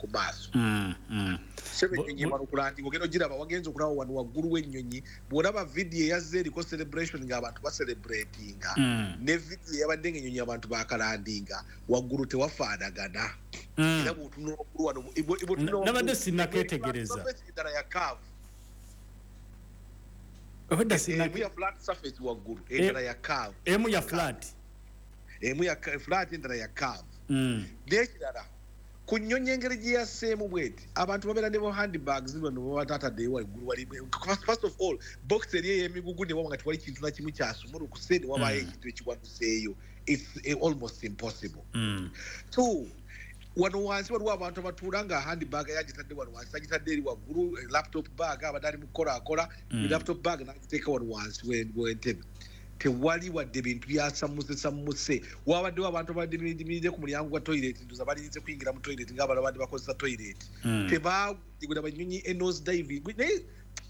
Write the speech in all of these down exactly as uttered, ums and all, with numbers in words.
ku maaso. Mm, mm. Sebe ennyonyi emala okulandinga, ogenda ogiraba, wagenza okulaba wano waggulu w'ennyonyi. Bw'olaba vidiyo eyazze eriko celebration ng'abantu bacelebratinga, Mm. ne vidiyo eyabadde ng'ennyonyi abantu bakalandinga, waggulu tewafaanagana. Mm. Era bw'otunula waggulu wano, bwe- bwe- bw'otunula Na- waggulu- nabadde sinnakeetegereza. Surface endala ya curve. Obadde Emu sinna- ya flat surface waggulu, endala ya curve. Emu ya flat. Emu ya ka- flat, endala ya curve. Mm. N'ekirala, ku nnyonyi engeri gye yasseemu bweti, abantu babeera ne bo handbags bano baba tataddeyo waggulu wali. First of all, box eri ey'emigugu ne waba nga tewali kintu na kimu kyasumulukuse, ne wabaayo Mm. ekintu ekiwanuseeyo, it's eh, almost impossible. Mm. Two, wano wansi waliwo abantu abatuula nga handbag yagitadde wano wansi, agitadde eri waggulu, eh, laptop bag, abadde ali mu kukola akola, Mm. laptop bag n'agiteeka wano wansi we- w'entebe. Tewali wadde bintu byasammuse sammuse. Wabaddewo abantu abadde biyimiridde ku mulyango gwa toilet, ndoza balinze kuyingira mu toilet ng'abalala badde bakozesa toilet. Mm. Tebagula banyonyi e nose dive, naye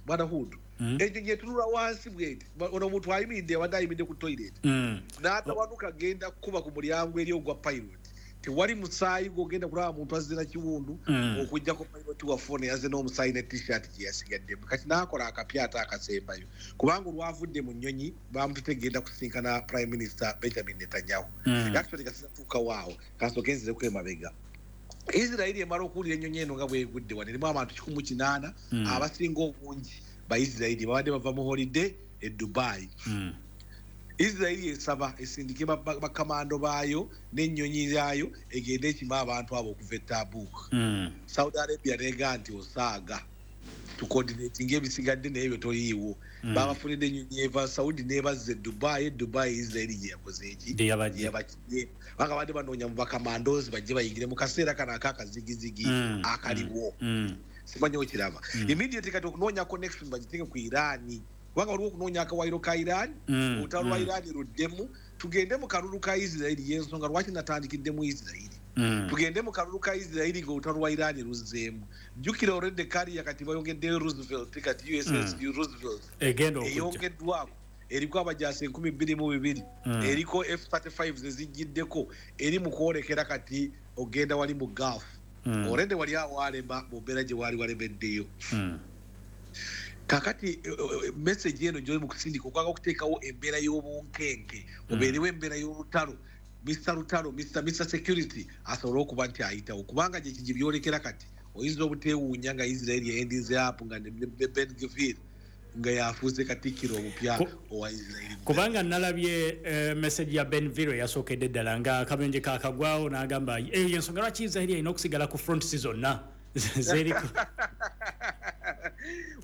bwana Hudu, Mm. ennyonyi etunula wansi bweti. Ba- ono omuntu ayimiridde, abadde ayimiridde ku toilet, Mm. n'atawanuka genda kuba ku mulyango eri ogwa pilot. Tewali musaayi gwogenda kulaba muntu azze na kiwundu, Mm. okuggyako pilot waffe ono yazze n'omusaayi ne T-shirt gye yasigaddemu. Kati n'akola akapya ate akasembayo, kubanga olwavudde mu nnyonyi bamutute genda kusinkana Prime Minister Benjamin Netanyahu. Mm. Actually, kasinatuukawo awo, kasooke nzireko emabega. Isirairi emala okuwulira ennyonyi eno nga bwegudde wano, erimu abantu kikumi mu kinaana, Mm. abasinga obungi Baisirairi babadde bava mu holiday e Dubai. Mm. Isirairi esaba esindike ba- ba- bakamando baayo n'ennyonyi yaayo egende ekima abantu abo okuva e Tabuk. Mm. Saudi Arabia nega nti osaaga tucoordinatinga ebisigadde, naye byo toliiwo. Mm. Babafunidde ennyonyi eva Saudi nebazza e Dubai. E Dubai Isirairi gye yakoze eki? Gye yabajje. Yabakye banga badde banoonya mu bakamandozi bajje bayingire mu kaseera kano akakazigizigi Mm. akaliwo. Mm. Simanyi okiraba. Mm. Immediately kati okunoonya connection bagiteeke ku Iran, kubanga waliwo okunoonya akawayiro ka Iran, Mm. olutalo lwa Mm. Iran luddemu, tugende mu kalulu ka Isirairi. Yensonga lwaki natandikidde mu Isirairi. Mm. Tugende mu kalulu ka Isirairi ng'olutalo lwa Iran luzzeemu. Jjukira already carrier kati bayongeddeyo Roosevelt, kati U S S Mm. Roosevelt egenda okujja. Eyongeddwako, eriko abajaasi enkumi bbiri mu bibiri, Mm. eriko F thirty-five zezijjiddeko, eri mu kwolekera kati ogenda wali mu Gulf. Mm. Already wali awalema mu mbeera gye waali walemeddeyo. Mm. Kakati eh, eh, message eno gyoli mu kusindika okwanga okuteekawo embeera y'obunkenke, obeerewo embeera y'olutalo, Mister Lutalo, Mister Mister Security asobole okuba nti ayitawo, kubanga gye kigi byolekera kati oyinza obuteewuunya nga Israel yayendinze up nga ne ne Ben Gvir nga yafuuse katikkiro omupya Ku- owa Israel. Kubanga nalabye eh, message ya Ben Gvir eyasookedde ddala nga akabenje kakagwawo, n'agamba eyo yensonga lwaki Israel erina okusigala ku front si zonna zeriko.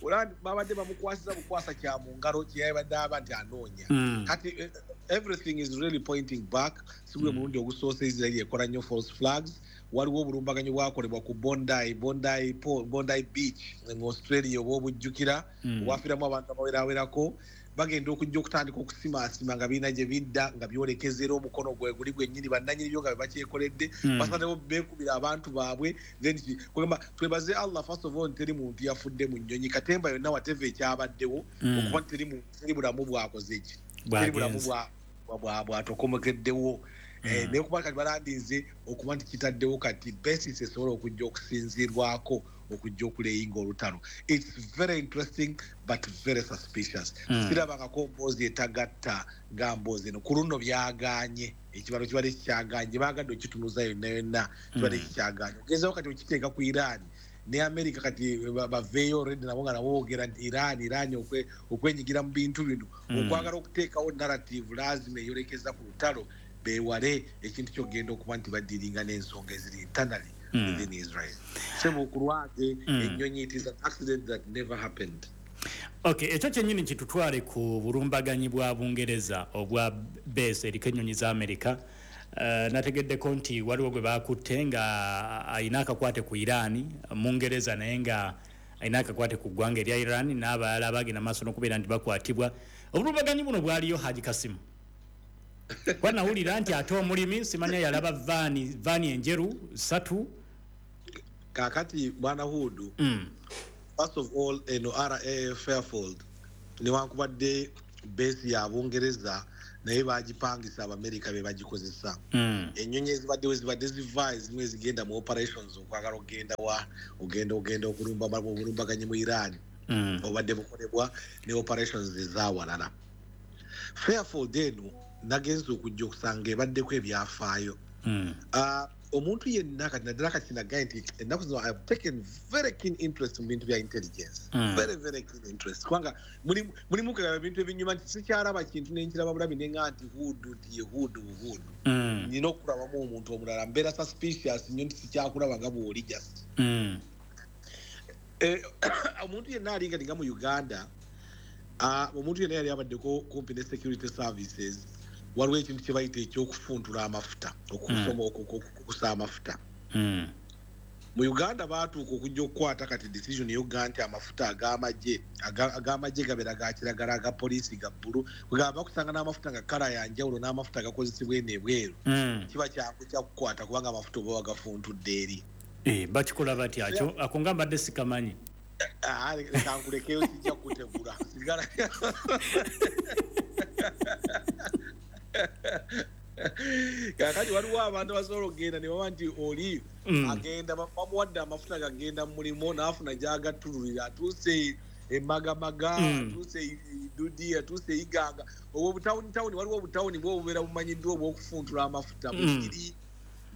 Olaba babadde bamukwasiza bukwasa kya mu ngalo kyeyabadde aba nti anoonya. Mm. Kati eh, everything is really pointing back. Si gwe mulundi ogusoose Israel ekola nnyo false flags. Waliwo obulumbaganyi bwakolebwa ku bondi bondi Po- bondi Beach mu Australia oba obujjukira, Mm. obwafiiramu abantu abawerawerako. Bagenda okujja okutandika okusimaasima nga birina gye bidda nga byolekeza, era omukono gwe guli gwennyini, bannanyini byo nga be bakyekoledde. Mm. Basazeewo beekubira abantu baabwe. Then ki- kugamba twebaze Allah first of all teri muntu yafudde mu nnyonyi, katemba yonna, whatever ekyabaddewo, Mm. okuba nti teri muntu, teri bulamu bwakoze ki, teri bulamu Bwagenze. bwa- bwa- bwa- bwatokomokeddewo. Eh, Mm. Naye kuba kati balandinze okuba nti kitaddewo kati basis esobola okujja okusinziirwako okujja okuleyinga olutalo. It's very interesting but very suspicious. Mm. Sirabangako mboozi etagatta nga mboozi eno. Ku luno byaganye, ekibalo kibadde kikyaganye, baagadde okitunuza yonna yonna, kibadde Mm. kikyaganye. Ogezaho kati okiteeka ku Iran ne America, kati ba- baveeyo already nabo nga nabo boogera nti Iran Iran okwe- okwenyigira mu bintu bino, Mm. okwagala okuteekawo narrative lazima eyolekeza ku lutalo, beewale ekintu kyogenda okuba nti badiringa n'ensonga eziri internally Mm. within Israel. Sebo, ku lwange, Mm. ennyonyi, it is an accident that never happened. Okay, ekyo kyennyini kitutwale ku bulumbaganyi bwa Bungereza obwa base eriko ennyonyi za Amerika. Uh, nategeddeko nti waliwo gwe bakutte nga alina akakwate ku Iran, Mungereza, naye nga alina akakwate ku ggwanga erya Iran, n'abalala bagenda maaso n'okubeera nti bakwatibwa. Obulumbaganyi buno bwaliyo, Haji Kasimu, kuba nawulira nti ate omulimi simanya yalaba vaani vaani enjeru ssatu. Kakati bwana Hudu, mm. first of all, eno R A F Fairfield, newankubadde base ya Bungereza, Naye bagipangisa Abamerika be bagikozesa. Mm. Ennyonyi ezibaddewo zibadde ziva ezimu ezigenda mu operations okwagala okugenda wa ogenda ogenda okulumba obulumbaganyi mu Iran. Mm. Obadde bukolebwa ne operations ezawalala. Fairfield eno nagenze okujja okusanga ebaddeko ebyafaayo. Mm. Ah, omuntu yenna kati naddala kati nagaye nti ennaku zino I have taken very keen interest mu bintu bya intelligence. Mm. Very, very keen interest. Kubanga mulimu mulimu kugaba ebintu ebinyuma nti sikyalaba kintu ne nkiraba bulabi ne nga nti hudu nti ye hudu buhudu. Mm. Nina okulabamu omuntu omulala mbeera suspicious nnyo nti sikyakulaba nga bw'oli just. Mm. Eh, omuntu yenna alinga nga mu Uganda, ah, omuntu yenna yali abaddeko kumpi ne security services, waliwo ekintu kye bayita ekyokufuntula amafuta, okusoma okukusa amafuta. Mm. Mu Uganda baatuuka okujja okukwata kati decision ey'okugamba nti amafuta ag'amagye, aga-, ag'amagye gabeera ga kiragala, aga poliisi ga bbulu, kwegamba bakusanga n'amafuta nga kkala ya njawulo n'amafuta agakozesebwa eno ebweru. Mm. Kiba kyangu kya kukwata kubanga amafuta oba wagafuntudde eri. Eh, bakikola batya? Akyo, ako nga mbadde sikamanyi. Ah, leka nkulekeyo sijja kukutegula. Sigala. Kaakati waliwo abantu abasobola okugenda ne baba nti oli Mm. agenda, ba-, bamuwadde amafuta gagenda mu mulimu n'afuna gy'agattululira, atuuse e Magamaga, Mm. atuuse e Dudi, atuuse e Iganga. Obwo obutawunitawuni, waliwo obutawuni bwo obubeera bumanyiddwa obw'okufuntula amafuta. Mm. Bugiri,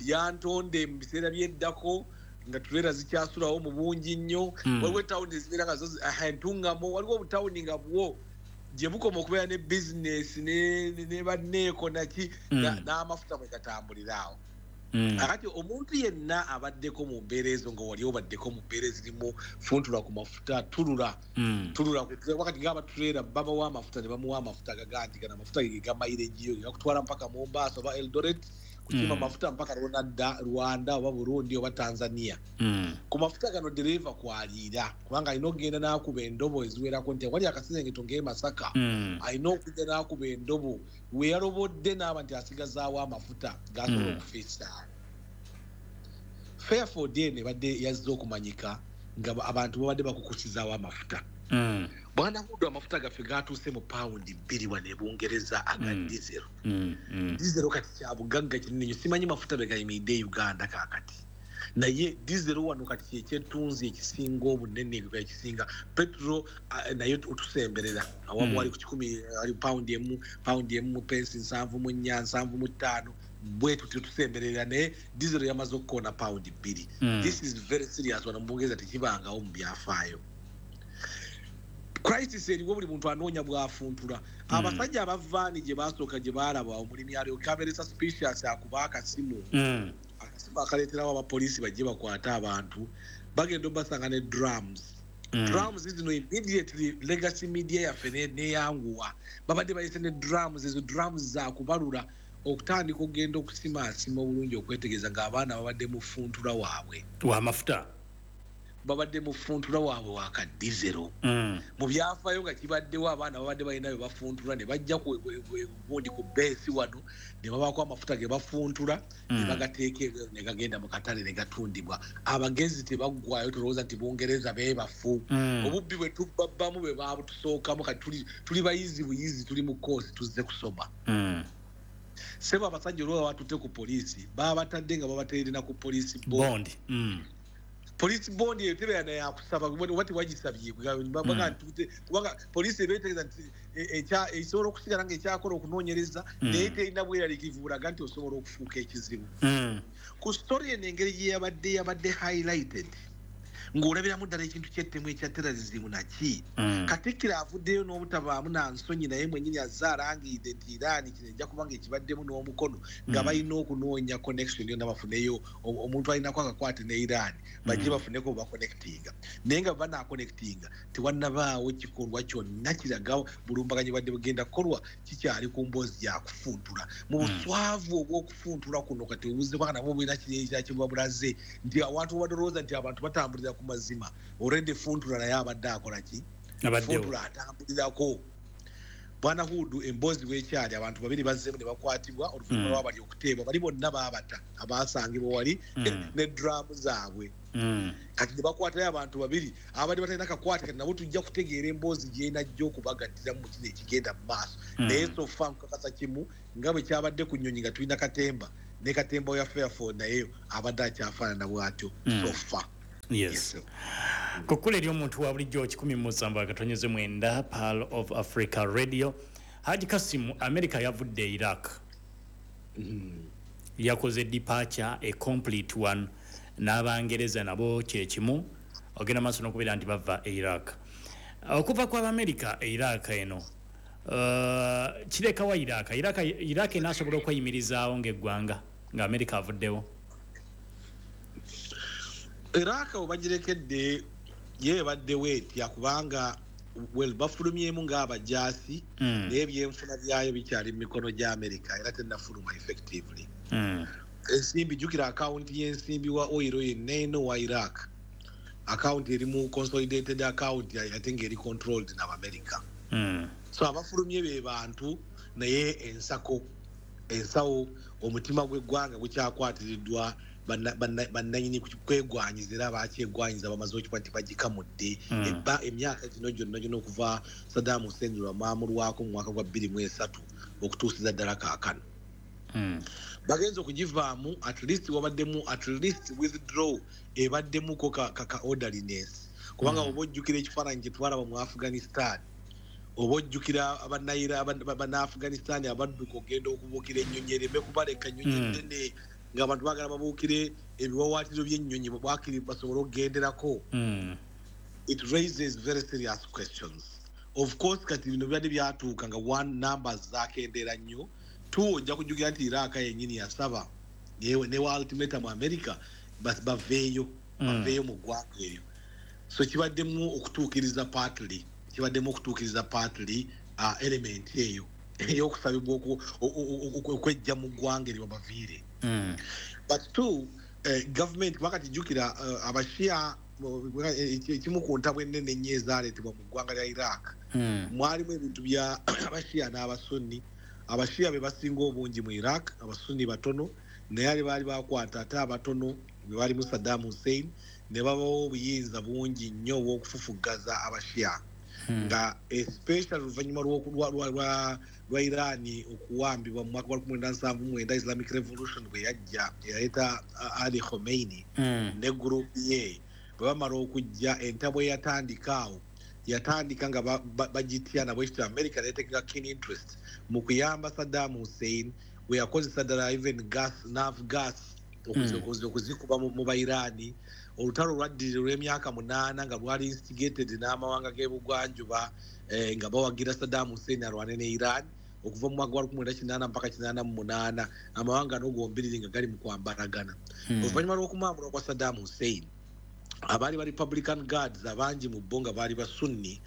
Lyantonde mu biseera by'eddako nga tuleera zikyasulawo mu bungi nnyo. Mm. Waliwo etawuni ezibeera nga zo zi-, aha, Entungamo, waliwo obutawuni nga bwo gye bukoma okubeera ne bizinesi ne, ne, ne banneeko naki, Mm. na, n'amafuta bwe gatambulira awo. Mm. Kakati omuntu yenna abaddeko mu mbeera ezo nga wali obaddeko mu mbeera ezirimu funtula ku mafuta, tulula, Mm. tulula ku tulula. Wakati ng'aba tuleera babawa amafuta ne bamuwa amafuta agaga nti gano amafuta ge ga mileage yo, ge gakutwala mpaka Mombasa oba Eldoret, kukima Mm. mafuta mpaka Rwanda, Rwanda oba Burundi oba Tanzania. Mm. Ku mafuta gano dereva kwaliira kubanga alina okugenda n'akuba endobo eziwerako nti wali akasengeto ng'e Masaka, Mm. alina okujja n'akuba endobo we yalobodde n'aba nti asigazaawo amafuta g'asobola Mm. okufiisa. Fairfield eno ebadde yazze okumanyika nga ba-, abantu babadde bakukusizaawo amafuta. Mm. Bwana Hudu, amafuta gaffe gatuuse mu pawundi bbiri wano e Bungereza aga Mm. diesel. Mm, mm. Diesel kati kya bugagga kinene nnyo. Simanyi mafuta be gayimiridde e Uganda kaakati. Naye diesel wano kati kye kyettunzi ekisinga obunene, ekisinga petrol, ah, naye otusemberera. Awamu Mm. wali ku kikumi, ali pawundi emu, pawundi emu mu pensi nsanvu mu nnya, nsanvu mu ttaano. Bwe tutyo tusemberera, naye diesel yamaze okukoona pawundi bbiri. Mm. This is very serious wano mu Bungereza tekibangawo mu byafaayo. Crisis eriwo buli muntu anoonya bw'afuntula. Mm. Abasajja abavaani gye baasooka gye baalaba omulimi alyoke abeere suspicious akuba akasimu. Mm. Akasimu akaleeterawo abapoliisi bajje bakwate abantu. Bagenda obasanga ne drums. Mm. Drums zino immediately legacy media yaffe ne-, neyanguwa. Babadde bayise ne drums, ezo drums za kubalula okutandika okugenda okusimaasima obulungi okwetegereza ng'abaana babadde mu funtula waabwe. Wa mafuta. Babadde mu funtula waabwe wa ka diesel. Mm. Mu byafaayo nga kibaddewo abaana babadde balina bye bafuntula ne bajja ku, ku, ku, gundi ku beesi wano ne babaako amafuta ge bafuntula ne Mm. bagateeka ebweru ne gagenda mu katale ne gatundibwa. Abagezi tebaggwaayo, tolowooza nti Bungereza beebafu. Mm. Obubbi bwe tubbabbamu bwe baabutusookamu kati tuli, tuli bayizi buyizi, tuli mu koosi tuzze kusoma. Mm. Ssebo abasajja olwo babatutte ku poliisi, baabatadde nga babateerera na ku poliisi bond. Bond. Mm. Police bond eyo tebeera naye akusaba, oba tewagisabye, kubanga Mm. nti kubanga poliisi eba etegeeza nti, e, ekya-, esobola okusigala ng'ekyakola okunoonyereza, Mm. naye terina bweraliikirivu bulaga nti osobola okufuuka ekizibu. Mm. Ku story eno engeri gye yabadde, yabadde highlighted, ng'olabiramu ddala ekintu ky'ettemu ekya terrorism naki. Mm. Katikkiro avuddeyo n'obutabaamu na nsonyi, naye mwennyini azze alangiridde nti Iran kino ejja kuba ng'ekibaddemu n'omukono, nga Mm. balina okunoonya connection yonna bafuneyo o-, omuntu alinako akakwate ne Iran, bajje Mm. bafuneko baconnectinga. Naye nga banaaconnectinga, tewannabaawo kikolwa kyonna kiraga bulumbaganyi bwadde bugenda kukolwa, kikyali ku mboozi ya kufuntula. Mu Mm. buswavu obw'okufuntula kuno kati obuzibu bwa nabwo bulina kiri ekirala kye buba bulaze, nti awantu obadde olowooza nti abantu batambulira ku mazima, already funtula naye abadde akola ki? Abaddewo. Funtula atambulirako. Bwana Hudu emboozi bwekyali abantu babiri bazzeemu ne bakwatibwa oluvannyuma Mm. lwabali okuteebwa bali bonna baabata abaasangibwa wali Mm. ne drum zaabwe. Mm. Kati ne bakwatayo abantu babiri abadde batalina kakwate, kati nabo tujja kutegeera emboozi gy'enajja okubagattiramu mu kino ekigenda mu maaso. Mm. Naye so far nkakasa kimu nga bwe kyabadde ku nnyonyi nga tulina katemba ne katemba ya Fairford naye abadde akyafaanana bw'atyo. Mm. So far. Yes. Yes, sir. Kukkula eri omuntu wa bulijjo kikumi mu musanvu akatonyeze mwenda Pearl of Africa Radio. Haji Kasimu, America yavudde Iraq. Mm. Yakoze departure, a complete one, n'Abangereza nabo kyekimu ogenda maaso n'okubeera nti bava e Iraq. Okuva kw'Abamerika e Iraq eno uh, kirekawa Iraq? Iraq, Iraq enaasobola okweyimirizaawo ng'eggwanga nga America avuddewo? Iraq obagirekedde ye ebaddewo etya, kubanga well bafulumyemu ng'abajaasi Mm. naye ebyenfuna byayo bikyali mu mikono gya America era tennafuluma effectively. Mm. Ensimbi, jjukira akawunti y'ensimbi wa oil yenna eno wa Iraq, akawunti erimu consolidated account ate ng'eri controlled n'Abamerika. Mm. So abafulumye be bantu, naye ensako ensawo omutima gw'eggwanga gukyakwatiriddwa banna- banna- bannanyini kwegwanyiza era bakyegwanyiza bamaze okikuba nti bagikamudde. Mm. Ebba emyaka gino gyonna gyonna okuva Saddam Hussein lwe bamwamulwako mu mwaka gwa bbiri mu esatu okutuusiza ddala kaakano Mm. bagenza okugivaamu. At least wabaddemu at least withdraw ebaddemuko ka, ka, ka orderliness, kubanga Mm. oba ojjukira ekifaananyi kye twalaba mu Afghanistan, oba ojjukira abannayira banna-Afghanistan abadduka ogenda okubuukira ennyonyi ereme kubaleka ennyonyi Mm. ennene ng'abantu baagala babuukire ebiwawaatiro by'ennyonyi bwakiri basobole okugenderako. Mm. It raises very serious questions. Of course kati bino bibadde byatuuka nga one, numbers zakendeera nnyo, two, ojja kujjukira nti Iraq yennyini yasaba newe newa ultimatum America bas- baveeyo Mm. baveeyo mu ggwanga eryo. So kibaddemu okutuukiriza partly kibaddemu okutuukiriza partly uh, element eyo ey'okusabibwa oku- o- o- o- okwejja mu ggwanga eryo babaviire. Mm. But two, eh, government wakati jjukira uh, Abashia eh, ekimu ku ntabwe ennene ennyo ezaaleetebwa mu ggwanga lya Iraq Mm. mwalimu ebintu bya Abashia n'Abasunni. Abashia be basinga obungi mu Iraq, Abasunni batono, naye ali baali bakwata ate abatono be balimu Saddam Hussein ne babawo obuyinza bungi nnyo obw'okufufuggaza Abashia Mm. nga especially oluvannyuma lw'oku- lwa- lwa- lwa lwa Iran okuwambibwa mu mwaka gwa lukumi mwenda nsanvu mu mwenda, Islamic Revolution bwe yajja eyaleeta uh, Ali Khomeini Mm. ne group ye, bwe bamala okujja entabwe eyatandika awo yatandika nga ba- ba- bagitya nabwe kityo America neteeka keen interest mu kuyamba Saddam Hussein bwe yakozesa ddala even gas, nerve gas okuzi- Mm. okuzi- okuzikuba mu mu Bairani. Olutalo lwaddirira olw'emyaka munaana nga lwali instigated n'amawanga g'ebugwanjuba eh, nga bawagira Saddam Hussein alwane ne Iran okuva mu mwaka gwa lukumi mwenda kinaana mpaka kinaana mu munaana, amawanga ano gombiriri nga gali mu kwambalagana. Mm. Oluvannyuma lw'okumwamulwa kwa Saddam Hussein, abaali ba Republican Guards abangi mu bo nga baali Basunni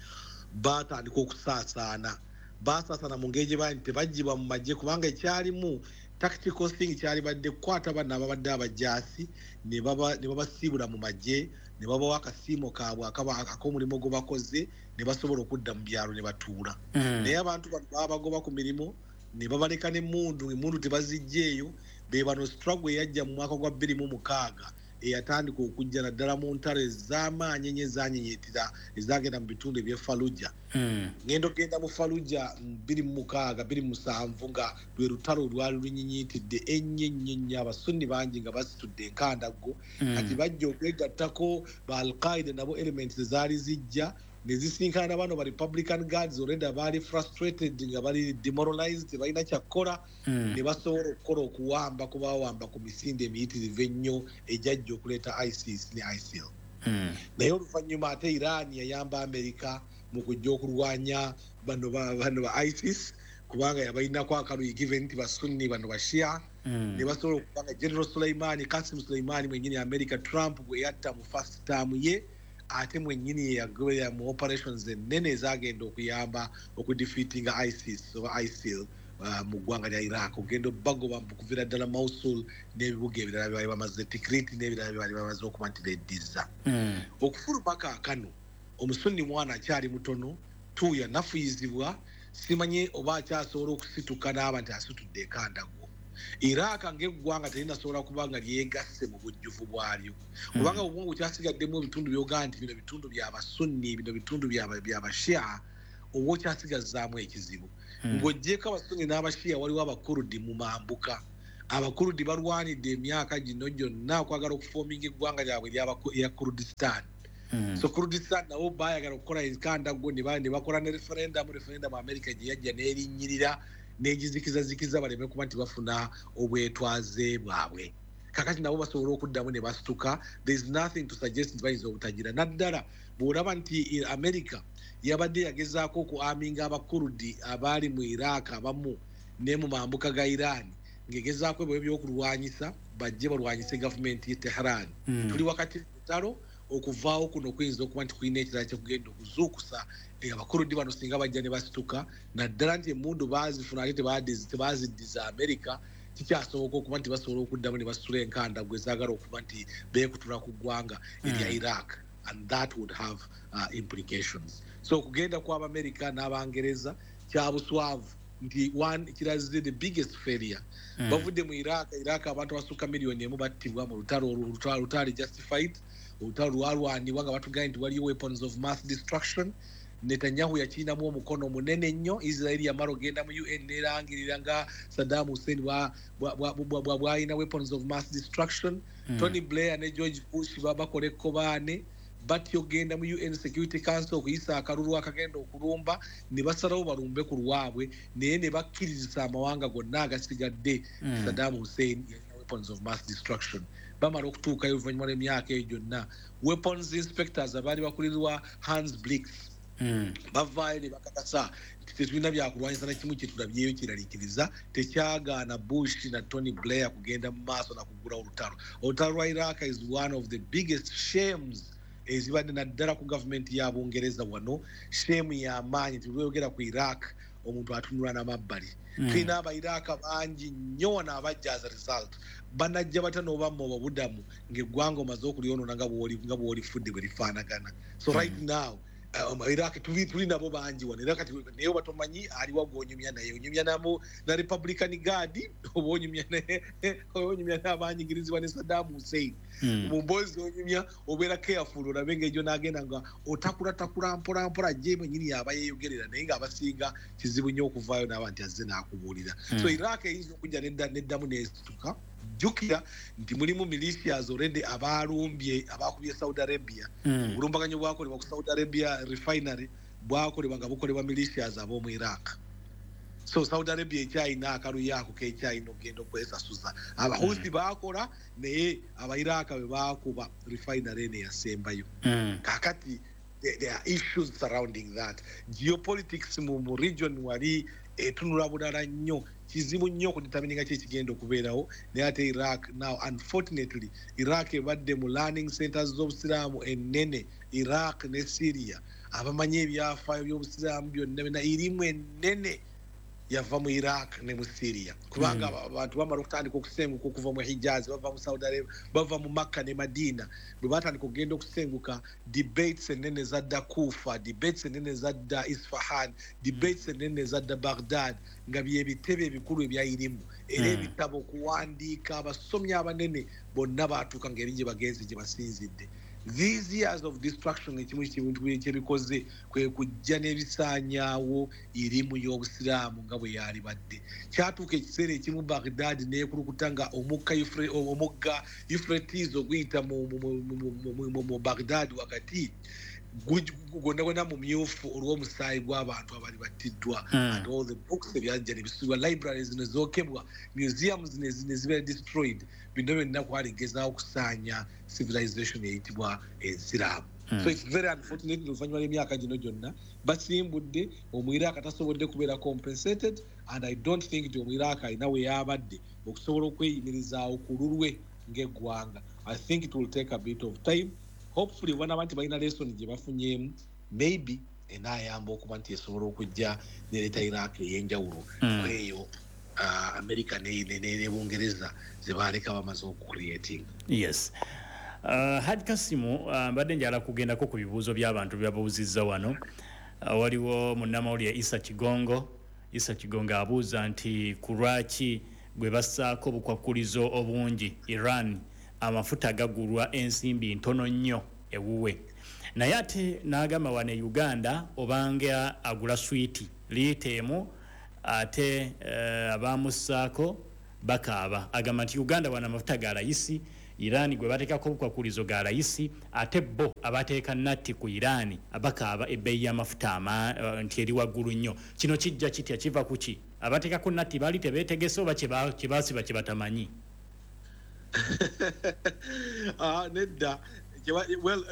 batandika okusaasaana, basaasaana mu ngeri gye baali nti tebaggyibwa mu magye, kubanga ekyalimu tactical thing kyali badde kukwata bano ababadde abajaasi ne baba- ne babasiibula mu magye ne babawa akasiimo kaabwe akaba- ak'omulimu gwe bakoze ne basobola okudda mu byalo ne batuula. Mm. Naye abantu bano babagoba ku mirimu ne babaleka n'emmundu, emmundu tebazijjeeyo. Be bano struggle eyajja mu mwaka gwa bbiri mu mukaaga eyatandika okujja naddala mu ntalo ez'amaanyi ennyo ezanyenyeetera ezagenda mu bitundu eby'e Fallujah. Mm. Ngenda okgenda mu Fallujah mu bbiri mu mukaaga bbiri mu musanvu nga lwe lutalo olwali lunyinyitidde ennyo ennyo ennyo, Abasunni bangi nga basitudde enkandaggo. Mm. Kati bajja okwegattako ba Alqaida nabo elements ezaali zijja ne zisinkana na bano ba Republican Guards already baali frustrated nga bali demoralized, tebalina kyakkola. Mm. Ne basobola okukola okuwamba ku bawamba ku misinde emiyitirivu ennyo egyajja okuleeta ISIS ne ISIL. Mm. Naye oluvannyuma ate Iran yayamba America mu kujja okulwanya bano ba, bano ba ISIS kubanga yabalinako akaluyi given nti Basunni bano Bashia. Mm. Ne basobola okubanga General Suleimani, Kasim Suleimani mwennyini America Trump bwe yatta mu first term ye, ate mwennyini ye yagoberera mu operations ennene ezagenda okuyamba okudefeatinga ISIS oba ISIL uh, mu ggwanga lya Iraq, ogenda obagoba okuvira ddala Mosul n'ebibuga ebirala bye baali bamaze, Tikrit n'ebirala bye baali bamaze okuba nti beddiza. Mm. Okufuluma kaakano omusunni mwana akyali mutono, tuuya nafuyizibwa. Simanyi oba akyasobola okusituka n'aba nti asitudde ekandago. Iraq ng'eggwanga terinasobola kuba nga lyegasse mu bujjuvu bwalyo, kubanga obwongo kyasigaddemu ebitundu by'ogaa nti bino bitundu by'Abasunni, bino bitundu by'Abashia, oba okyasigazzaamu ekizibu. Ng'oggyeko Abasunni n'Abashia, waliwo Abakurudi mu mambuka. Abakurudi balwanidde emyaka gino gyonna okwagala okuforminga eggwanga lyabwe erya Kurdistan. So Kurdistan nabo bayagala okukola enkandaggo, ne bakola ne referendum. Referendum America gye yajja n'erinnyirira n'egizikizazikiza baleme kuba nti bafuna obwetwaze bwabwe. Kakati nabo basobola okuddamu ne basituka. There is nothing to suggest nti bayinza obutagira, naddala bw'olaba nti America yabadde yagezaako oku arminga Abakurudi abaali mu Iraq abamu ne mu mambuka ga Iran, ng'egezaako ebyo ebyokulwanyisa bajje balwanyise gavumenti ye Tehran. Tuli wakati lutalo, okuvaawo kuno kuyinza okuba nti kulina ekirala kyekugenda okuzuukusa Abakurudi bano singa bajja ne basituka, naddala nti emmundu baazifuna ate tebaziddiza America. Kikyasoboka okuba nti basobola okuddamu ne basitula enkandaggo ezaagala okuba nti beekutula ku ggwanga erya Iraq, and that would have uh, implications. So okugenda kw'Abamerika n'Abangereza kyabuswavu nti one, kiraze the biggest failure. Bavudde mu Iraq. Iraq abantu abasukka miliyoni emu battibwa mu lutalo olutali justified, olutalo lwalwanibwa nga batugambye nti waliyo weapons of mass destruction. Netanyahu yakirinamu omukono munene nnyo. Israel yamala ogenda mu U N nerangirira nga Saddam Hussein bwalina weapons of mass destruction. Tony Blair ne George Bush bakola ekkobaane batyo genda mu U N Security Council okuyisa akalulu akagenda okulumba, ne basalawo balumbe ku lwabwe, naye ne bakkirizisa amawanga gonna agasigadde Saddam Hussein yalina weapons of mass destruction. Bamala okutuukayo oluvannyuma lw'emyaka eyo gyonna, weapons inspectors abaali bakulirwa Hans Blix bavaayo ne bakakasa nti tetulina byakulwanyisa na kimu kyetulabyeyo kiraliikiriza. Tekyagaana Bush na Tony Blair kugenda mu maaso nakugula olutalo. Olutalo lwa Iraq is one of the biggest shames ezibadde naddala ku gavumenti ya Bungereza wano, shame y'amaanyi nti lweyogera ku Iraq omuntu atunula n'amabbali. Tulina Abairaq bangi nnyo wano abajja as a result. Banajja batya n'obamma obabudamu ng'eggwanga omaze okulyonoona nga bw'olifudde bwe lifaanagana? So right now um, Iraq tuli tuli nabo bangi wano era kati, naye oba tomanyi aliwa gw'onyumya naye, onyumya namu na Republican Guard oba onyumya onyumya n'abanyigirizibwa ne Saddam Hussein. Mu mboozi onyumya obeera careful olabe ng'egyo n'agenda nga otakulatakula mpola mpola gye mwenyini yaba yeeyogerera, naye ng'abasinga kizibu nnyo okuvaayo n'aba nti azze n'akubuulira. So Iraq eyinza okujja neddamu n'esituka. Jjukira nti mulimu militias already abalumbye, abakubye Saudi Arabia. Obulumbaganyo bwakolebwa ku Saudi Arabia refinery bwakolebwa nga bukolebwa militias ab'omu Iraq. So Saudi Arabia ekyayina akaluyo ako kekyayina okugenda okwesasuza. Abahusi bakola, naye Abairaq bwe bakuba refinery eno eyasembayo. Kakati there are issues surrounding that. Geopolitics mu, mu region wali etunula bulala nnyo, kizibu nnyo okudetermininga ki ekigenda okubeerawo. Naye ate Iraq now, unfortunately, Iraq ebadde mu learning centers z'obusiraamu ennene, Iraq ne Syria. Abamanyi ebyafaayo by'obusiraamu byonna byonna, irimu ennene yava mu Iraq ne mu Syria, kubanga abantu bamala okutandika okusenguka okuva mu Hijaz, bava mu Saudi Arabia, bava mu Makka ne Madina. Bwe batandika okugenda okusenguka, debates ennene zadda Kufa, debates ennene zadda Isfahan, debates ennene zadda Baghdad, nga byebitebe ebikulu ebya irimu. Era ebitabo okuwandiika, abasomi abanene bonna batuuka ng'eri gye bagenze gye basinzidde. These years of destruction, ekimu kintu kyebikoze kwe kujja n'ebisaanyaawo irimu y'obusiraamu nga bwe yali badde. Kyatuuka ekiseera ekimu Baghdad neekulukuta nga omugga omugga Euphrates oguyita mu Baghdad wakati gwonna gwonna mu myufu olw'omusaayi gw'abantu abali battiddwa, and all the books ebyajja ne bisubwa, libraries ne zookebwa, museums ne zibeera destroyed. Bino byonna kwali gezaako okusaanya civilization eyitibwa ensiraamu. So it's very unfortunate, oluvannyuma lw'emyaka gino gyonna basimbudde, Omwiraaka tasobodde kubeera compensated, and I don't think nti Omwiraaka alina we yabadde okusobola okweyimirizaawo ku lulwe ng'eggwanga. I think it will take a bit of time. Hopefully banaba nti balina lesson gye bafunyeemu, maybe enaayamba okuba nti esobola okujja nereeta Iraq ey'enjawulo eyo uh, America ne Bungereza ze baaleka bamaze okucreating. Yes. uh, Haj Kasimu, uh, mbadde njala kugendako ku bibuuzo by'abantu byababuuzizza wano. uh, waliwo munnamawulire Isa Kigongo. Isa Kigonga abuuza nti ku lwaki gwe bassaako obukwakkulizo obungi Iran amafuta gagulwa ensimbi ntono nnyo ewuwe, naye ate n'agamba wano e Uganda obanga agula swiiti liita emu ate uh, abamussaako bakaaba. Agamba nti Uganda wano amafuta ga layisi, Iran gwe bateekako obukwakkulizo ga layisi, ate bo abateeka natti ku Iran abakaaba ebbeeyi y'amafuta uh, nti eri waggulu nnyo. Kino kijja kitya, kiva ku ki? Abateekako natti baali tebeetegese oba kye baasiba kye batamanyi? Ah, nedda. Well,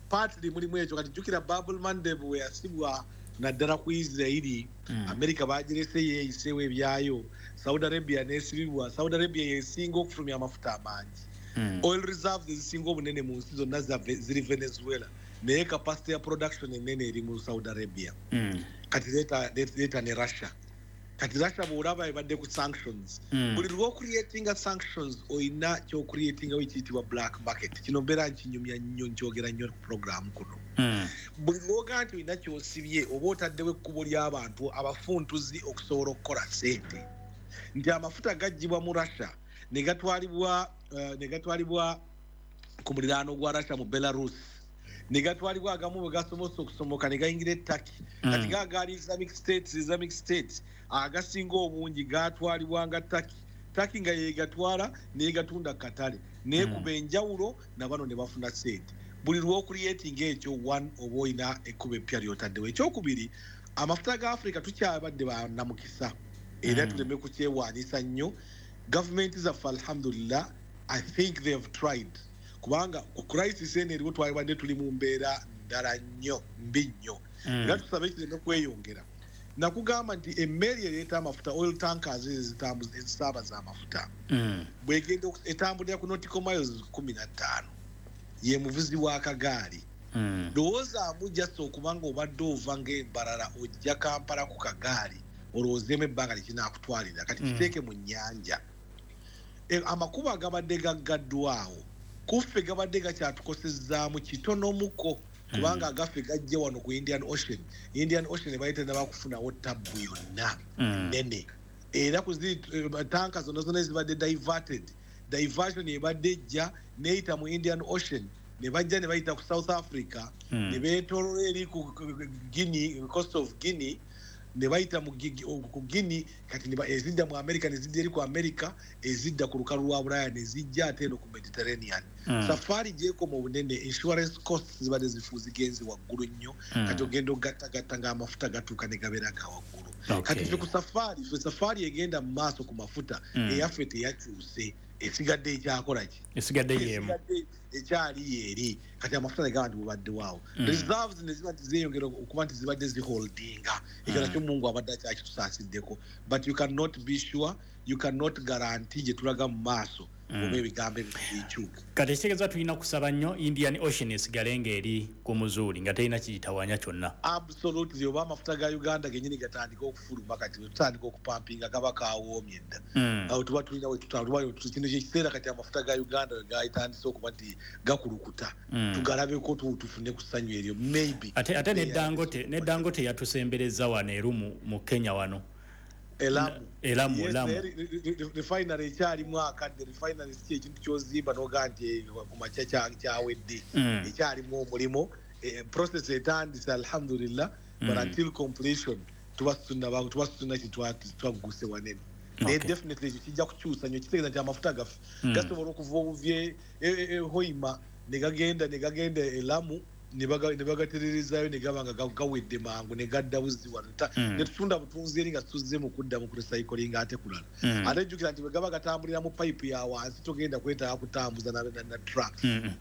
partly mulimu ekyo. Kati jjukira Bab el Mandeb we yasibwa naddala ku Isirairi, mm. America bagirese yeeyiseewo ebyayo, Saudi Arabia nesibibwa. Saudi Arabia yesinga okufulumya amafuta amangi, mm. oil reserves ezisinga obunene mu nsi zonna ziri Venezuela, naye capacity ya production enene eri mu Saudi Arabia. mm. Kati leeta ne Russia. Kati Russia bw'olaba ebadde ku sanctions, mm. buli lw'ocreatinga sanctions oyina ky'ocreatingawo ekiyitibwa black market. Kino mbeera nkinyumya nnyo, nkyogera nnyo ku program kuno. mm. Buli lwoga nti olina ky'osibye oba otaddewo ekkubo ly'abantu abafuntuzi okusobola okukola ssente, nti amafuta gaggyibwa mu Russia ne gatwalibwa uh, ne gatwalibwa ku muliraano gwa Russia mu Belarus, ne gatwalibwa agamu bwe gasobosa okusomoka ne gayingira e Turkey. mm. Kati gaagaali Islamic States, Islamic States agasinga obungi gatwalibwanga Turkey. Turkey nga yegatwala negatunda katale nekuba mm. enjawulo nabano ne bafuna ssente. Buli lw'ocreatinga ekyo, one, oba olina ekkubo eppya lyotaddewo. Ekyokubiri, amafuta ga Africa tukyabadde banamukisa era mm. tuleme kukyewaanisa nnyo. Gavumenti zaffe, alhamdulillah, I think they have tried, kubanga ku crisis eno eriwo twalibadde tuli mu mbeera ndala nnyo, mbi nnyo, mm. era tusabe kireme kweyongera. Nakugamba nti emmeeri ereeta amafuta, oil tankers ezisaabaza amafuta, mm. bwegenda etambulira ku nautical miles kumi na ttaano, ye muvuzi w'akagaali. mm. Lowoozaamu just okuba nga obadde ova ng'embalala ojja Kampala ku kagaali, olowoozeemu ebbanga likinakutwalira. Kati mm. kiteeke mu nnyanja. E, amakubo agabadde gaggaddwawo kuffe gabadde gakyatukosezaamu kitonomuko, kubanga mm. agaffe gajja wano ku Indian Ocean. Indian Ocean ebaite nabakufunawo tabbu yonna mm. nene, era ku tanka zonna zonna ezibadde diverted, diversion ebadde ejja neyita mu Indian Ocean, ne bajja ne bayita ku South Africa, mm. ne beetolola eri ku Guinea, coast of Guinea, ne bayita ku Guinea. Kati ezidda mu America ne zidda eri ku America, ezidda ku lukalu lwa Bulaya ne zijja ate eno ku Mediterranean. mm. Safaari gyekoma obunene, insurance costs zibadde zifu zigenze waggulu nnyo. mm. Kati ogenda ogattagatta ng'amafuta gatuuka ne gabeera ga waggulu. okay. Kati ffe ku safaari, ffe safaari egenda mu maaso ku mafuta, mm. eyaffe teyakyuse, esigadde ekyakola ki? Esigadde yemu. Ekyali yeeri. Kati amafuta negaba nti bubadde waawo, mm. reserves ne ziba nti zeeyongera okuba nti zibadde ziholdinga. Ekyo nakyo Mungu abadde akyakitusasiddeko, but you cannot be sure, you cannot guarantee gye tulaga mu maaso mm. oba ebigambo ebyo bikyuke. Kati ekitegeeza tulina kusaba nnyo Indian Ocean esigale ng'eri ku muzuuli nga terina kiyitawanya kyonna. Absolutely. Oba amafuta ga Uganda genyini gatandika okufuluma, kati wetutandika okupampinga gaba kawoomye dda. mm. Awo tuba tulina kino kyekiseera kati amafuta ga Uganda we gatandise okuba nti gakulukuta, mm. tugalabeko, tufune ku ssanyu eryo maybe. Ate, ate ne Dangote, ne Dangote yatusembereza wano erumu mu Kenya wano. Elamu. Elamu. Elamu refinery ekyalimu akadde. Refinery si ekintu kyozimba nogaa nti ku makya kyawedde. mm. Ekyalimu omulimu, eh, process etandise, alhamdulillah, but mm. until completion tuba tuba twagguse wanene, naye definitely ekyo kijja kukyusa nnyo. Kitegeeza nti amafuta gaffe mm. gasobola okuva obuvi e Hoima ne gagenda ne gagenda Elamu, ne bagatererezayo ne gaba nga gawedde mangu ne gadda buzzi wano, mm. ne tutunda butunzi eri nga tuzze mu kudda mu kurecycling ate kulala. mm. Ate jjukira nti bwe gaba gatambulira mu pipe ya wansi, togenda kwetaaga kutambuza na, na, na trucks. mm.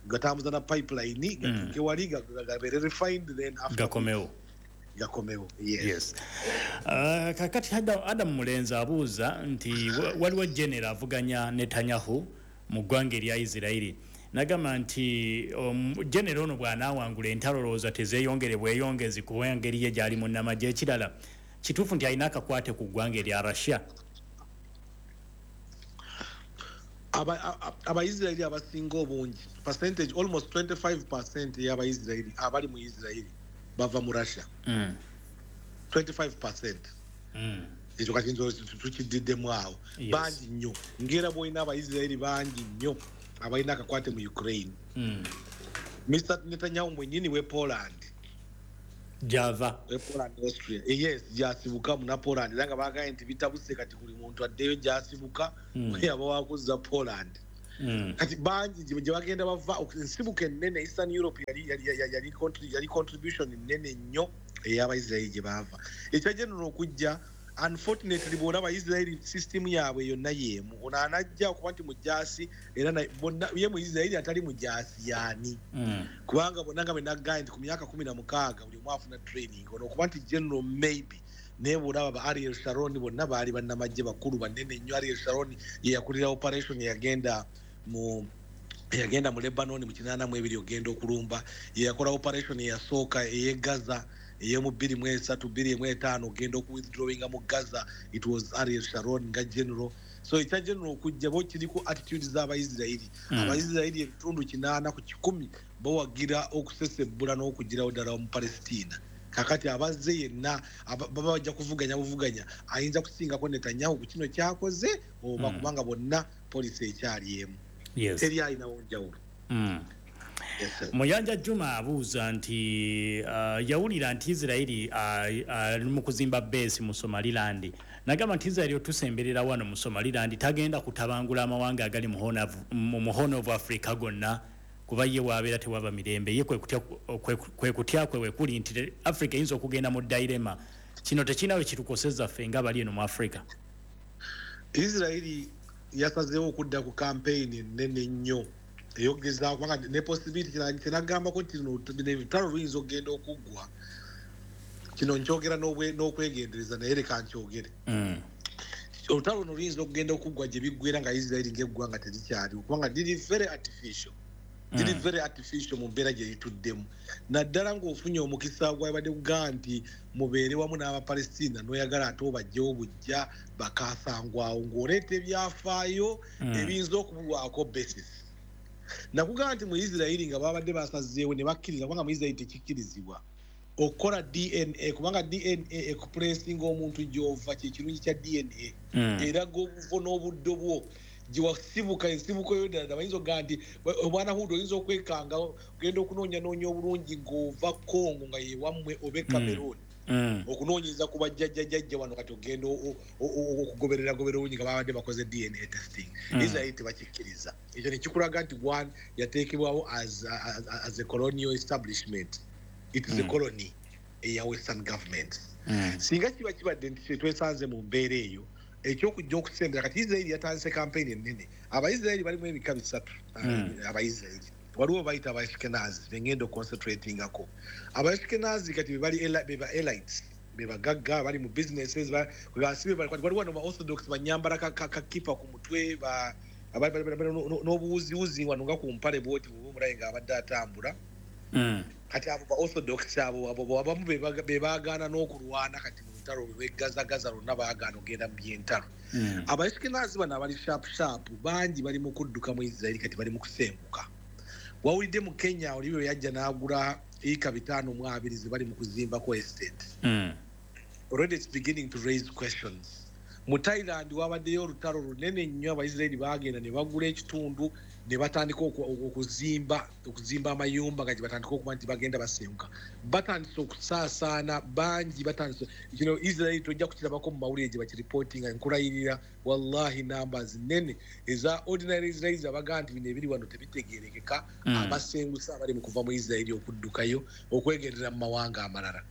Gatambuza na pipeline gatuuke wali, gabeere refined, then after gakomewo. Gakomewo, yes. Yes. Uh, kakati Adam Mulenzi abuuza nti waliwo general avuganya Netanyahu mu ggwanga erya Isirairi, nagamba nti um, general ono bw'anaawangula entalo lowooza tezeeyongere bweyongezi kuba engeri ye gy'ali munnamagye. Ekirala, kituufu nti alina akakwate ku ggwanga erya Russia? Abaisirairi abasinga obungi, percentage almost twenty-five percent y'abaisirairi abali mu Isirairi bava mu Russia. mm. twenty-five percent. Mm. Ekyo kati nzo tukididdemu awo. Yes. Bangi nnyo, ngera bw'olina Abaisiraeri bangi nnyo abalina akakwate mu Ukraine. Mm. Mister Netanyahu mwennyini we Poland. Java. We Poland, Austria. Eh, yes, gyasibuka muna Poland. Era nga baagambye nti bitabuse kati buli muntu addeyo gyasibuka, Mm. yaba wakuzza Poland. Mm. Kati bangi gye gye bagenda bava, ensibuko ennene Eastern Europe yali, yali, yali, yali, contri-, yali contribution nnene nnyo ey'Abaisiraeri gye baava. Ekya general okujja, unfortunately bw'olaba Israeli system yaabwe yonna y'emu. Ono anajja okuba nti mujaasi, era na-, bonna, ye mu Israeli atali mujaasi y'ani? Mm. Kubanga bonna nga bwe nagambye nti ku myaka kumi na mukaaga buli omu afuna training. Ono okuba nti general maybe, naye bw'olaba ba Ariel Sharon bonna baali bannamagye bakulu banene nnyo. Ariel Sharon ye yakulira operation eyagenda mu, eyagenda mu Lebanon mu kinaana mu ebiri ogenda okulumba. Ye yakola operation eyasooka ey'e Gaza ey'omu bbiri mu esatu, bbiri mu etaano ogenda okuwithdrawinga mu Gaza. It was Ariel Sharon nga general. So ekya general okujja bo kiri ku attitude z'Abayisirayiri. Mm. Abayisirayiri ebitundu kinaana ku kikumi bawagira okusesebbula n'okugirawo ddala mu Palestina. Kakati abazze yenna, aba-, baba bajja kuvuganya buvuganya, ayinza kusingako Netanyahu ku kino kyakoze oba Mm. kubanga bonna poliisi ekyali emu. Yes. Teri alinawo njawulo. Mm. Yes, sir. Muyanja Juma abuuza nti, uh, yawulira nti Israeli, uh, ali mu kuzimba base mu Somaliland. Nagamba nti Israeli otusemberera wano mu Somaliland tagenda kutabangula amawanga agali mu Horn of, mu Horn of Africa gonna, kuba ye waabeera tewaba mirembe. Ye kwe kutya, kwe, kwe kutya kwe wekuli nti Africa eyinza okugenda mu dilemma. Kino tekirina we kitukosezza ffe nga bali eno mu Africa. Israeli yasazeewo okudda ku campaign ennene ennyo eyogezaako, kubanga ne possibility kina-, kinagambako nti no, bino ebitalo luyinza okugenda okuggwa. Kino nkyogera n'obwe-, n'okwegendereza, naye leka nkyogere. Mm. Olutalo luno luyinza okugenda okuggwa gye biggwera nga Israeli ng'eggwanga terikyaliwo, kubanga liri very artificial. Liri Mm. very artificial mu mbeera gye lituddemu. Naddala ng'ofunye omukisa gwabadde kugamba nti mubeere wamu n'Abapalestina, n'oyagala ate obajjewo bujja bakaasangwawo, ng'oleeta ebyafaayo Mm. ebiyinza okubulwako basis. Nakugamba nti mu Israeli nga babadde basazeewo ne bakkiriza, kubanga mu Israeli tekikkirizibwa okukola D N A, kubanga D N A ekupulesinga omuntu gy'ova, kye kirungi kya D N A. Mm. Eraga obuvo n'obuddo bwo gye wasibuka, ensibuko yo ddala. Bayinza okugamba nti, we-, obwana Hudu oyinza okwekanga ogenda okunoonyanoonya obulungi ng'ova Congo nga ye wammwe oba e Mm. Cameroon. Mm. Okunoonyeza ku bajjajjajja wano kati ogenda o-, o-, o-, okugoberera goberera obulungi nga babadde bakoze D N A testing. Mm. Israel tebakikkiriza. Ekyo ne kikulaga nti one yateekebwawo as, as, as a colonial establishment. It is a Mm. colony eya Western government. Mm. Singa kiba kibadde nti twesanze mu mbeera eyo, ekyokujja okusembera kati Israel yatandise campaign ennene. Abaisraeli balimu ebika bisatu, Mm. Abaisraeli. Waliwo bayita Abaashikenazi, be ngenda oconcentratingako. Abaashikenazi kati be bali ela-, be ba elites, be bagagga, bali mu businesses, ba-, be basibe bali, waliwo wano ba Orthodox banyambala ka-, ka-, kakipa ku mutwe, ba-, abali, bali, bali, no, no, n'obuwuziwuzi wano nga ku mpale bw'oti bw'oba omulabe ng'abadde atambula. Mm. Kati abo ba Orthodox abo, abo, abo abamu be baga-, be baagaana n'okulwana kati mu lutalo lwe Gaza-Gaza lwonna baagaana okugenda mu by'entalo. Mm. Abaashikenazi bano abali sharp sharp bangi bali mu kudduka mu Israeli kati bali mu kusenguka. Wawulidde mu Kenya oli bwe yajja n'agula yiika bitaano mu abiri ze bali mu kuzimbako estate. Mm. Already it's beginning to raise questions. Mu Thailand wabaddeyo olutalo lunene nnyo, Abaisraeli baagenda ne bagula ekitundu ne batandika oku-, oku-, okuzimba, okuzimba amayumba nga gye batandika okuba nti bagenda basenguka. Batandise okusaasaana bangi, batandise, you know, Israeli tojja kukirabako mu mawulire gye bakireportinga, nkulayirira wallahi numbers nnene eza ordinary Israelis abagamba nti bino ebiri wano tebitegeerekeka, Mm. abasenguse abali mu kuva mu Israeli okuddukayo okwegerera mu mawanga amalala.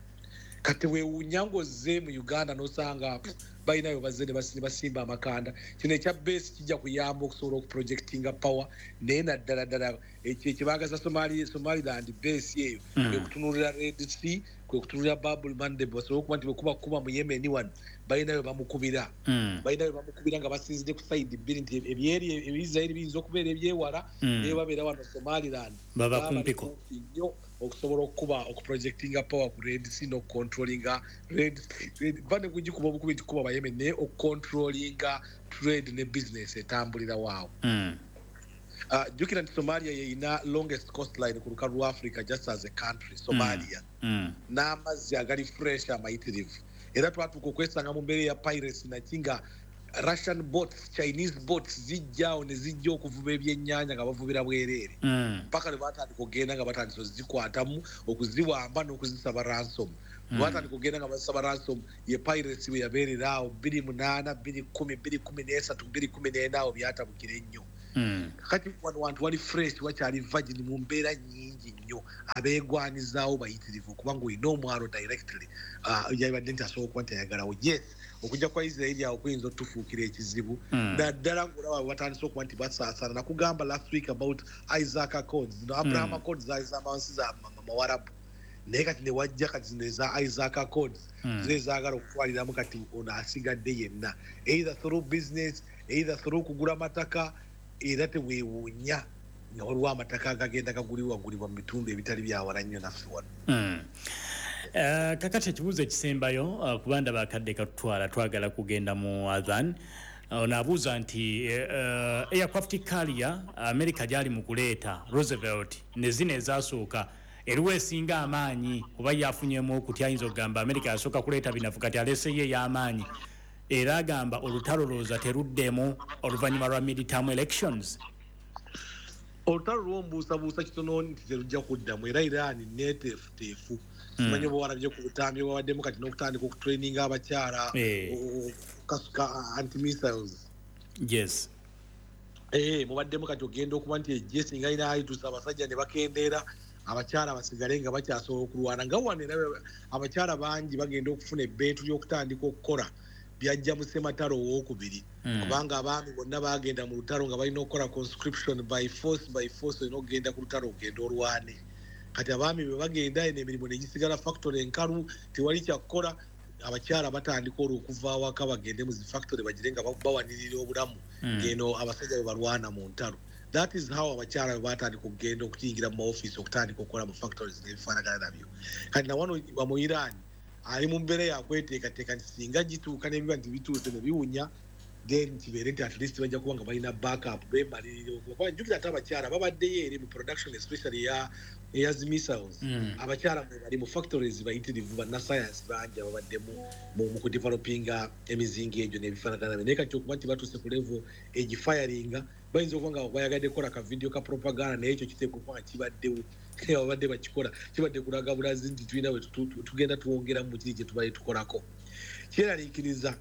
Kati weewuunya ng'ozze mu Uganda n'osanga balinayo bazze ne basi-, ne basimba amakanda. Kino ekya base kijja kuyamba okusobola okuprojectinga power, naye naddala ddala ekyo ekibaagaza Somali-, Somaliland base eyo, Hmm. kwe kutunuulira Red Sea, kwe kutunuulira Bab el-Mandeb, basobole okuba nti bwe kuba kuba mu Yemen wano, balinayo bamukubira. Hmm. Balinayo bamukubira nga basinzidde ku side bbiri nti ebyeri, Israel biyinza okubeera ebyewala, Hmm. naye babeera wano Somaliland. Baba Baba kumpiko. kumpi nnyo okusobola okukuba, okuprojectinga power ku Red Sea n'okucontrollinga Red Sea. Ba ne kugikuba obukubi nti kuba ba Yemen, naye okucontrollinga trade ne business etambulira waawo. Hmm. Uh, jjukira nti Somalia yeyina longest coastline ku lukalu lwa Africa just as a country, Somalia. Mm. Mm. N'amazzi agali fresh amayitirivu. Era twatuuka okwesanga mu mbeera ya piracy naki nga Russian boats, Chinese boats zijjaawo ne zijja okuvuba ebyennyanja nga bavubira bwereere, paka lwe batandika okugenda nga batandise ozikwatamu, okuziwamba n'okuzisaba ransom. mm. Batandika okugenda nga bazisaba ransom, ye piracy bwe yabeerera awo bbiri munaana, bbiri kkumi, bbiri kkumi n'esatu, bbiri kkumi n'ena, awo byatabukira ennyo. mm. Kakati wano wantu wali fresh, wakyali virgin mu mbeera nnyingi nnyo, abeegwanizaawo bayitirivu okubanga olina omwalo directly. uh, yabadde nti asobola okuba nti ayagalawo. Yes, okujja kwa Israeli awo kuyinza otufuukira ekizibu, mm. naddala ng'olaba bwe batandise okuba nti basaasaana. Nakugamba last week about Isaac Accords, no Abraham mm. Accords zaali z'amansi za Mawarabu, naye kati ne wajja kati zino eza Isaac Accords, mm. zo ezaagala okutwaliramu kati ono asigadde yenna, either through business, either through kugula mataka. Era teweewuunya nga waliwo amataka agagenda gagulibwagulibwa mu bitundu ebitali byawala nnyo naffe wano. mm. Uh, kakati ekibuuzo ekisembayo, uh, kuba ndaba akadde katutwala, twagala kugenda mu adhan. Ono abuuza nti uh, aircraft carrier America gyali mu kuleeta Roosevelt ne zino ezasooka, eriwo esinga amaanyi? Oba yafunyemu okutya, ayinza okugamba America yasooka kuleeta binafu, kati aleeseyo ey'amaanyi. Era agamba olutalo lowooza teruddemu oluvannyuma lwa midterm elections. Olutalo lwombuusabuusa kitono nti terujja kuddamu. Era Iran neeteefuteefu, simanyi oba walabye ku butambi bwabaddemu kati n'okutandika okutraininga abakyala okukasuka anti-missiles. Yes. Eh, mubaddemu kati ogenda okuba nti ejje singa ina ayitusa abasajja ne bakendeera, abakyala basigale nga bakyasobola okulwana. Nga wano era abakyala bangi bagenda okufuna ebbeetu ly'okutandika okukola byajja mu ssematalo owookubiri, kubanga abaami bonna bagenda mu lutalo nga balina okukola conscription by force by force, olina okugenda ku lutalo ogenda olwane. Kati abaami bwe bagenda, eno emirimu negisigala factory enkalu, tewali kyakukola. Abakyala batandika olwo okuva awaka bagende mu zi factory bagire nga bawanirira obulamu, ngeno abasajja bwe balwana mu ntalo. That is how abakyala bwe batandika okugenda okuyingira mu maofiisi, okutandika okukola mu factories n'ebifaanagana nabyo. Kati nawano mu Iran ali mu mbeera yakweteekateeka nti singa gituuka n'ebiba nti bituuse ne biwunya, then kibeere nti at least bajja kuba nga balina backup, beemalirira okuba. Jjukira ate abakyala babaddeyo eri mu production, especially eya eya zi missiles. mm. Abakyala mwe bali mu factories bayitirivu, bannasayansi bangi ababaddemu mu kudevelopinga emizinga egyo n'ebifaanagana. Naye kati okuba nti batuuse ku level egifiringa, bayinza okuba nga bayagadde kukola ka video ka propaganda, naye ekyo kiteekwa okuba nga kibaddewo, babadde bakikola kibadde kulaga bulazi nti tulina bwe tugenda twongeramu mu kiri kye tubadde tukolako. Kyeraliikiriza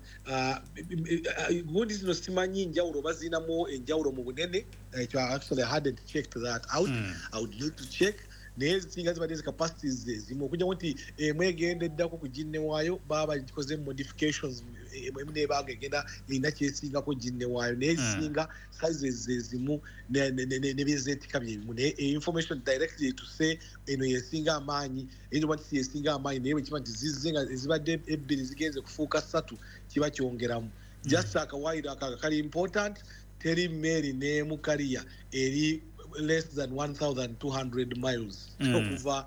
gundi zino simanyi njawulo bazinamu enjawulo mu bunene. Ekyo actually I hadn't checked that out. mm. I would need to check, naye singa zibadde zi capacities ezimu, okujjamu nti emu egenda eddako ku ginne waayo, baba bagikoze modifications, emu nebanga egenda erina kyesingako ginne waayo, naye ezisinga sizes ezimu nebyezeetika byebimu. Naye information directly to say eno yesinga amaanyi, eyinza okuba nti si yesinga amaanyi, naye bwe kiba nti zizze nga ezibadde ebbiri zigenze kufuuka ssatu, kiba kyongeramu. Just akawaayiro ako kali important: teri meeri n'emu carrier eri less than one thousand two hundred miles mm. okuva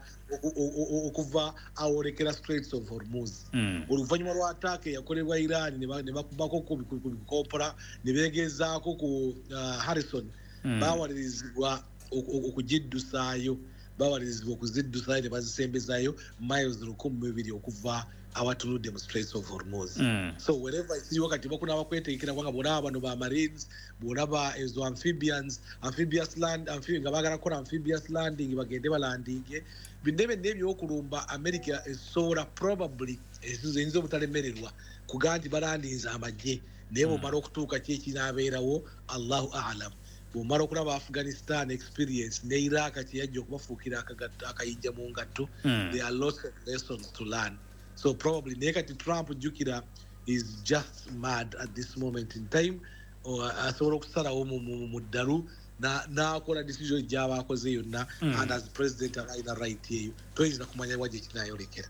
okuva awolekera Straits of Hormuz. mm. Oluvannyuma lwa attack eyakolebwa Iran ne bakubako ku bikopola ne beegezaako ku uh, Harrison, mm. bawalirizibwa okugiddusaayo, bawalirizibwa okuziddusaayo ne bazisembezaayo miles lukumi mu bibiri okuva awatunudde mu Straits of Hormuz. mm. So wherever ekiriwo kati bakunaba kwetegekera, kubanga bwolaba bano ba marines, bwolaba ezo amphibians, amphibious land, amphi, nga baagala kukola amphibious landing, bagende balandinge binne byonna ebyokulumba America esobola probably eyinza obutalemererwa kugaa nti balandinze amagye. Naye bwomala okutuuka ki ekinaabeerawo, Allahu alam. Bwomala okulaba Afghanistan experience ne Iraq kyeyajja okubafuukira akayinja mu ngatto, mm. there are lots of lessons to learn. So probably, naye kati Trump, jjukira, is just mad at this moment in time. Asobola okusalawo mu ddalu n'akola decision gy'aba akoze yonna, mm. and as president aba alina right eyo. Toyinza kumanya wa gye kinaayolekera.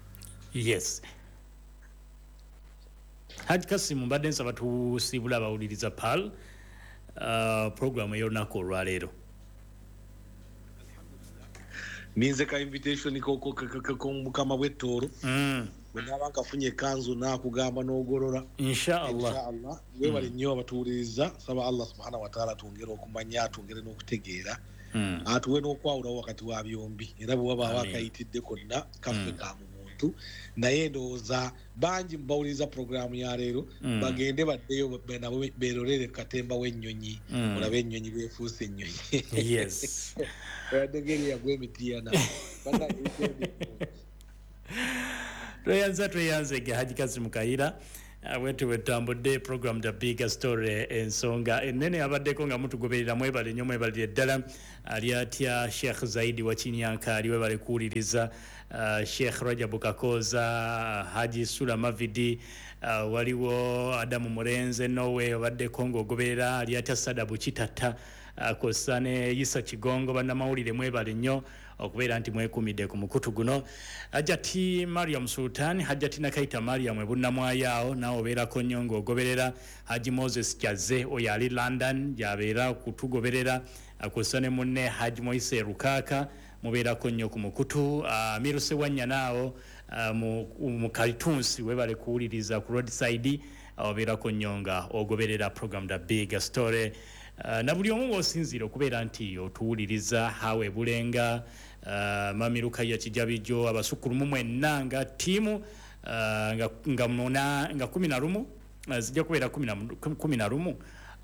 Yes, Haji Kasimu, mbadde nsaba tusiibula abawuliriza pal uh, programu ey'olunaku olwaleero. Ninze ka invitation k'omukama bw'ettooro. mm. Bwe naaba nkafunye ekanzu naakugamba n'ogolola. Inshallah. Inshallah. Webale nnyo abatuwuliriza. Saba Allah subhanahu wataala twongere okumanya, twongere n'okutegeera, mm. atuwe n'okwawulawo wakati wa byombi. Era bwe wabaawo Amiin. akayitidde konna kaffe Mm. ka mu muntu. bantu, naye ndowooza bangi bawuliriza puroguramu ya leero Mm. bagende baddeyo nabo beerolere katemba w'ennyonyi, Mm. olabe ennyonyi bwefuuse ennyonyi. Yes. Oyadde yagwa emitiyana. Tweyanza, tweyanzege Haji Kasimu Kayira. Ah, bwetu bwetutambudde program The Big Story, ensonga ennene abaddeko nga mutugoberera. Mwebale nnyo, mwebalire ddala. Ali atya Sheikh Zaidi wa Kinyanka, ali webale kuwuliriza. uh, Sheikh Rajabu Kakoza, Haji Sula Mavidi, uh, waliwo Adamu Murenze Nowe obaddeko ng'ogoberera. Ali atya Sada Bukitata, uh, kw'ossa ne Isa Kigongo. Bannamawulire mwebale nnyo okubeera nti mwekumidde ku mukutu guno. Hajati Mariam Sultan, Hajati Nakaita Mariam ebunnamwayaawo, naawe obeerako nnyo ng'ogoberera. Haji Moses Kyaze oyo ali London gy'abeera okutugoberera, kw'ossa ne munne Haji Moise Rukaaka, mubeerako nnyo ku mukutu. Amiru Sewanyana awo uh, mu, mu Kalitunsi, webale kuwuliriza ku roadside, obeerako nnyo nga ogoberera program The Big Story. Uh, na buli omu w'osinziira okubeera nti otuwuliriza, hawe Bulenga, uh, Mami Lukaya Kijabijo, abasukkulumu mwenna nga ttiimu, uh, nga, nga, muna, nga kumi na lumu, uh, zijja kubeera kumi na, kumi na lumu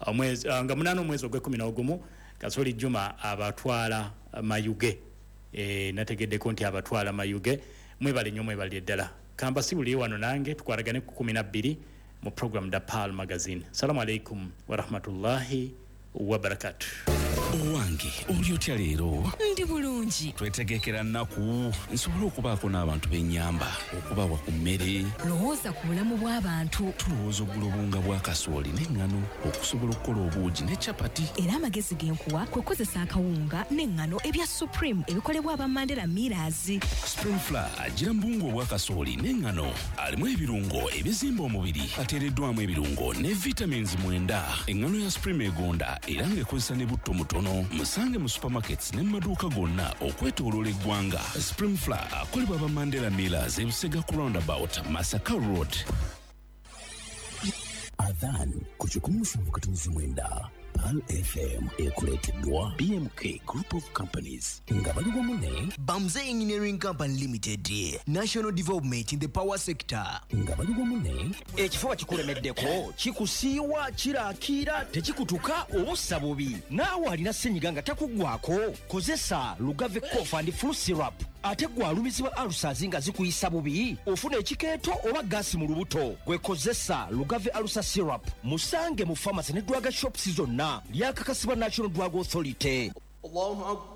omwezi, uh, nga munaana omwezi ogw'ekkumi n'ogumu, Kasoli Juma abatwala Mayuge. E, nategeddeko nti abatwala Mayuge. Mwebale nnyo, mwebalire ddala. Kambasibulire wano nange tukwatagane ku kumi na bbiri mu program The Pearl Magazine. Salamu alaikum warahmatullahi wabarakatuh. Owange, oli otya leero? Ndi bulungi. Twetegekera nnaku nsobole okubaako n'abantu b'ennyamba, okubawa ku mmere. Lowooza ku bulamu bw'abantu. Tulowooza okugula obuwunga bwa kasooli n'eŋŋano okusobola okukola obuugi ne capati. Era amagezi ge nkuwa kwe kukozesa akawunga n'eŋŋano ebya Supreme ebikolebwa aba Mandela Millers. Supreme Flour agira mu buwunga obwa kasooli n'eŋŋano, alimu ebirungo ebizimba omubiri, ateereddwamu ebirungo ne vitamins mwenda. Eŋŋano ya Supreme egonda era ng'ekozesa ne butto mutono. Musange mu supermarkets ne mu maduuka gonna okwetooloola eggwanga. Supreme Flour akolebwa aba Mandela Millers, Ebusega ku roundabout, Masaka Road. Adhan ku kikumi musanvu katonzi mwenda Pearl F M, ekuleeteddwa B M K Group of Companies nga bali wamu ne Bamze Engineering Company Limited, National Development in the Power Sector. Nga bali wamu ne Ekifuba kikulemeddeko, kikusiiwa, kirakiira, tekikutuka, obussa bubi. Naawe alina ssenyiga nga takuggwako, kozesa Lugave Cough and Flu Syrup. Ate gwe alumizibwa ulcers nga zikuyisa bubi, ofuna ekikeeto oba gaasi mu lubuto, gwe kozesa Lugave Ulcer Syrup. Musange mu pharmacy ne drug shops zonna. Lyakakasibwa National Drug Authority.